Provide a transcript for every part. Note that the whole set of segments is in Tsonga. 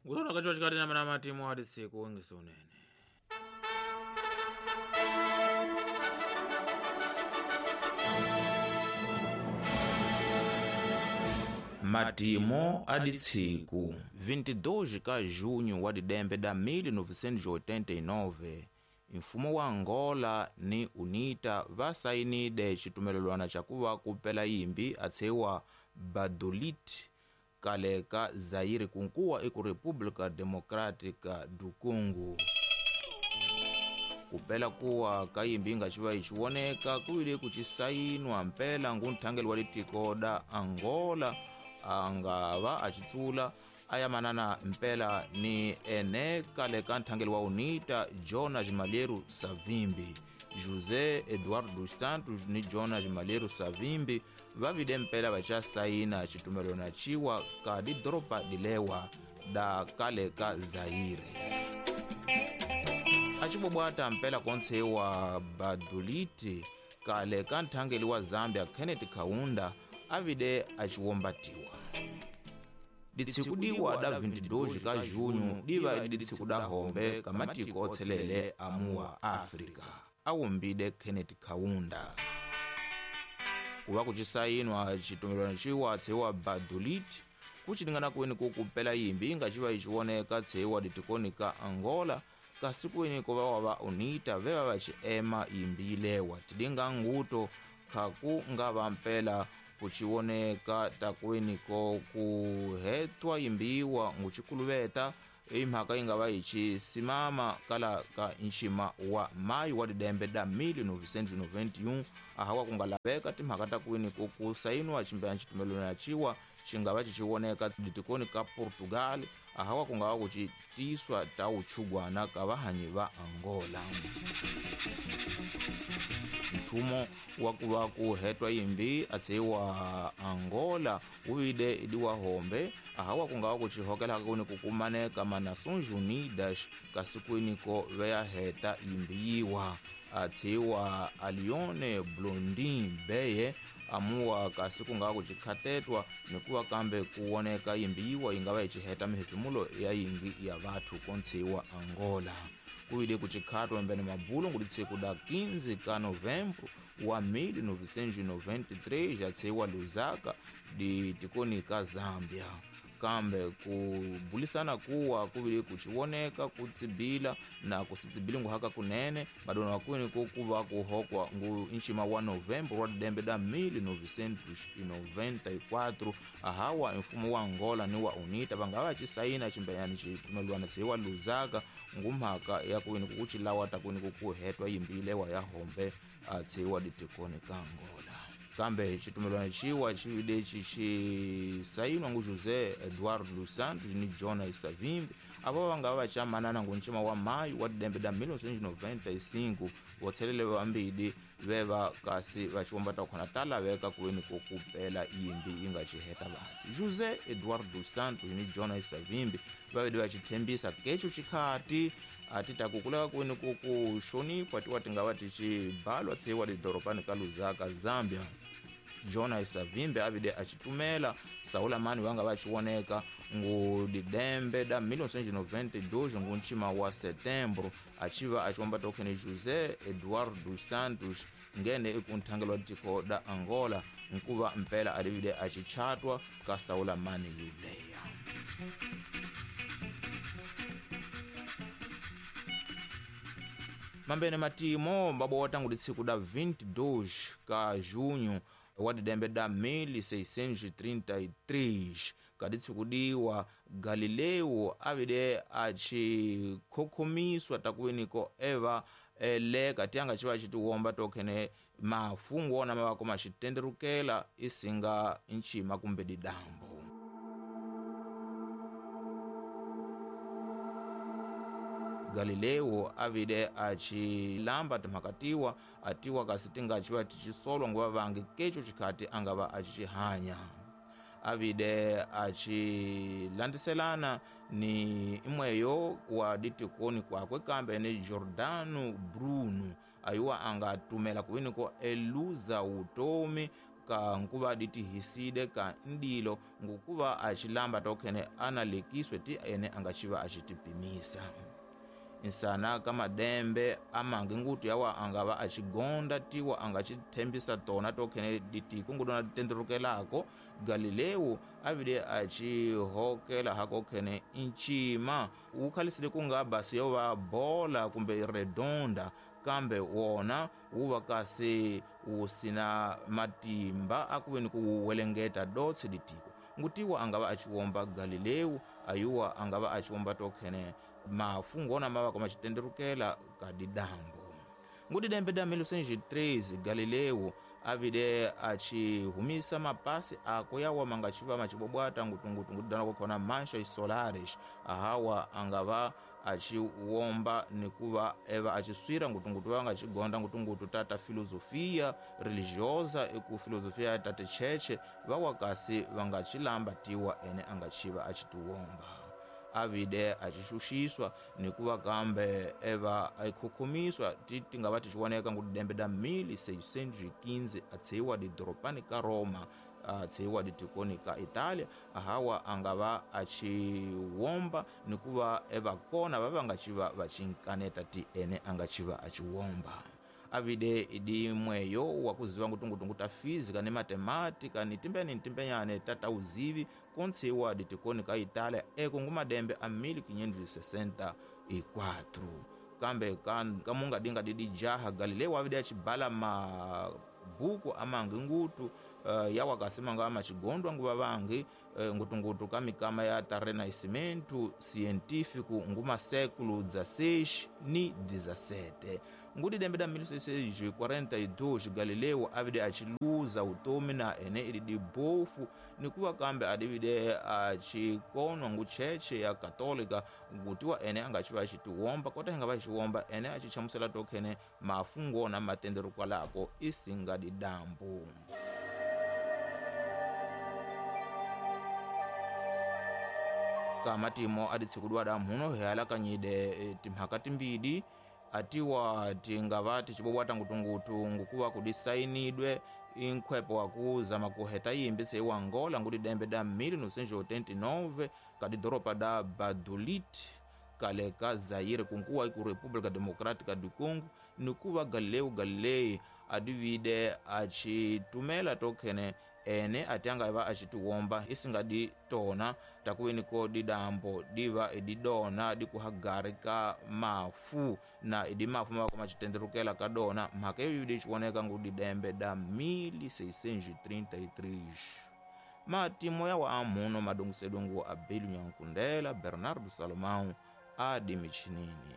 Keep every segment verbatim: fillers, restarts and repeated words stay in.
Ngusona kacho chikati na mana matimu hadi siku wengi sunene. Matimo aditsiku vinte e dois ka junho wa didembe da mil novecentos e oitenta e nove mfumo wa Angola ni UNITA vasainide xitumelelwana xa kuva kupela yimbi atshewa Badolit kale ka Zaire kunkuwa eku República Democrática do Congo. Kupela kuwa ka yimbi nga xiva yi xivoneka ku vile ku xisainwa mpela ngunthangeli wa litiko da Angola anga va a xitsula aya manana mpela ni ene kale ka nthangeli wa UNITA Jonas Malheiro Savimbi. José Eduardo dos Santos ni Jonas Malheiro Savimbi va vile mpela va xa sayina xitumelwana xiwa ka didoropa dilewa da kale ka Zaire. Axibobwata mpela kontshewa Baduliti kale ka nthangeli wa Zambia Kenneth Kaunda avide axiwombatiwa. Ditsiku diwa da vinte e dois ka junho diva ditsiku da hombe ka matiko otshelele amuwa Afrika awumbide Kenneth Kaunda. Kuva kucisayinwa xitumelwana xiwa tshewa Badulit kucilingana kweni kukupela yimbi inga xiva yi xivoneka tshewa ditikoni ka Angola kasi kweni ko va va UNITA veva va xiema yimbi yilewa tilinga nguto khaku nga va mpela kuxivoneka takweni ko ku hetwa yimbiwa nguxikuluveta i mhaka yi nga va yi xisimama kala ka nxima wa mayi wa didembe da mil novecentos e noventa e um ahawa ku nga laveka timhaka ta kwini ko ku sayiniwa ximbeya xitumelwana xiwa xi nga va xi xivoneka ditikoni ka Portugal ahawa ku nga va ku xi tiswa ta uchugwana ka vahanyi va Angola. Mthumo wa ku va ku hetwa yimbi atshewa Angola wu vile idiwa hombe ahawa ku nga va ku xihokela kuni ku kumaneka ma Nações Unidas kasi kwini ko veya heta yimbi yiwa atshewa Alione Blondin Beye amuwa kasi ku nga va ku xikhatetwa ni ku va kambe ku woneka yimbi yiwa yi nga va yi xiheta mihefemulo ya yingi ya vathu kontshewa Angola. Kuile kuchikhatwa mbene mabulo ngulitseko da quinze ka novembro wa mil novecentos e noventa e três atshewa Lusaka di tikoni ka Zambia. Kambe ku bulisana kuwa kuvile kuchivoneka kutsibila na kusitsibili nguhaka kunene madona wakwini ko kuva kuhokwa ngu nxima wa novembro wa didembe da mil novecentos e noventa e quatro ahawa mfumo wa Angola ni wa UNITA vanga va xisayina ximbenyani xitumelwana tshewa Lusaka ngumhaka ya kwini kukuchilawa ta kwini kukuhetwa yimbilewa ya hombe atshewa ditikoni ka Angola. Kambe xitumelwana xiwa xi lexi xi sayinwa ngu José Eduardo dos Santos ni Jonas Savimbi ava va nga va xa manana ngu nxima wa mayu wa didembe da mil novecentos e noventa e cinco votshelele vambili veva kasi va xiwomba ta khona ta laveka kweni ko kupela yimbi yi nga xiheta vanhu. José Eduardo dos Santos ni Jonas Savimbi va vile va xi tshembisa kecho xikhati a ti ta ku kuleka kwini ku ku xonipwa tiwa ti nga va ti xibalwa tshewa lidorobani ka Lusaka Zambia. Jonas Savimbi avide axitumela Saula Mani va nga va xivoneka ngu didembe da mil novecentos e noventa e dois ngu nxima wa setembro axiva axiwomba tokhene José Eduardo dos Santos ngene eku nthangelo wa tiko da Angola nkuva mpela alivile axichatwa ka Saula Mani yuleya. Mambene matimo mbabota ngulitsiku da vinte e dois ka junho wa didembe da mil seiscentos e trinta e três kaditsikudiwa Galileo avide achikhokhomiswa takwiniko eva eleka tianga xiva xi tiwomba tokhene mafungu wona ma va kuma xitenderukela isinga nxima kumbe didambo. Galileo avide achilamba timhaka tiwa atiwa kasi ti nga xiva ti xisolwa nguva vangi kecho xikhati a nga va a xihanya. Avide achilandiselana ni imweyo wa ditikoni kwakwe kambe ni Giordano Bruno ayuwa anga tumela kwini ko eluza utomi Ka nkuva ditihiside ka ndilo ngukuva achilamba tokhene analekiswe ti ene angachiva achitipimisa. Insana kamadembe amange ngutu yawa angava achigonda tiwa angachithembisa tona tokhene ditiko ngudona ditenderukelako. Galileo avide achihokela hakokhene nchima ukhalisile kunga basi yova bola kumbe redonda, kambe wona wuva kasi wusina matimba akuveni kuwelengeta dotse ditiko. Ngutiwa angava achiwomba Galileo ayuwa angava achiwomba tokhene mafungo ona mava koma chitenderukela kadidambo. Ngudidembe da mil novecentos e treze Galileo avide achihumisa mapasi ako yawa mangachiva machibobwata ngutungutu ngudidana kokhona manchas solares ahawa angava achiwomba nikuva eva achiswira ngutungutu vanga achigonda ngutungutu tata filosofia religiosa eku filosofia tata cheche vawakasi vangachilamba tiwa ene angachiva achitiwomba. Avide achishuxiswa nikuva kambe eva akhukhumiswa ti tingava tichioneka ngudidembe da mil seiscentos e quinze atseiwa didoropani ka Roma atseiwa ditikoni ka Italia ahawa angava achiwomba nikuva eva kona vava ngachiva vachinkaneta ti ene angachiva achiwomba. Avide idi mweyo wakuziva ngutungutungu ta física ni matemática ni timbeni ntimbenyane tata uzivi kontsiwa ditikoni ka Italia eko ngumadembe a mil quinhentos e sessenta e quatro. Kambe kamunga dinga didi jaha Galileo avide achibala mabuku amangi ngutu uh, yawa kasimanga amachigondwa nguva vangi uh, ngutungutu kamikama ya ta Renascimento científico nguma século dezesseis ni dezessete. Ngudidembe da mil seiscentos e quarenta e dois Galileo avide achiluza utomi na ene ididi bofu nikuva kambe adivide achikonwa ngucheche ya Katolika ngutiwa ene angachiva achitiwomba kota ingava achiwomba ene achichamusela tokhene mafungo na matendero kwalako isinga didambu. Kamatimo aditsikudwa da mhuno healakanyide timhaka timbidi atiwa tingava tichibobwata ngutungutu ngukuva kudisainidwe inkhwepo wakuzama kuheta yimbi seiwa Angola ngudidembe da mil novecentos e oitenta e nove kadidoropa da Badulit kale ka Zaire kunkuwa iku República Democrática do Congo nikuva Galileo Galilei adivide achitumela tokhene ene atianga eva achitiwomba isingadi tona takuweniko didambo diva ididona dikuhagari ka mafu na idi mafu mava koma kadona mhaka iyo dichioneka ngudidembe da mil seiscentos e trinta e três. Matimo yawa amuno madongosedongo Abelio Nyankundela Bernardo Salomão adimichinini.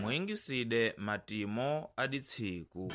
Mwingiside matimo aditsiku.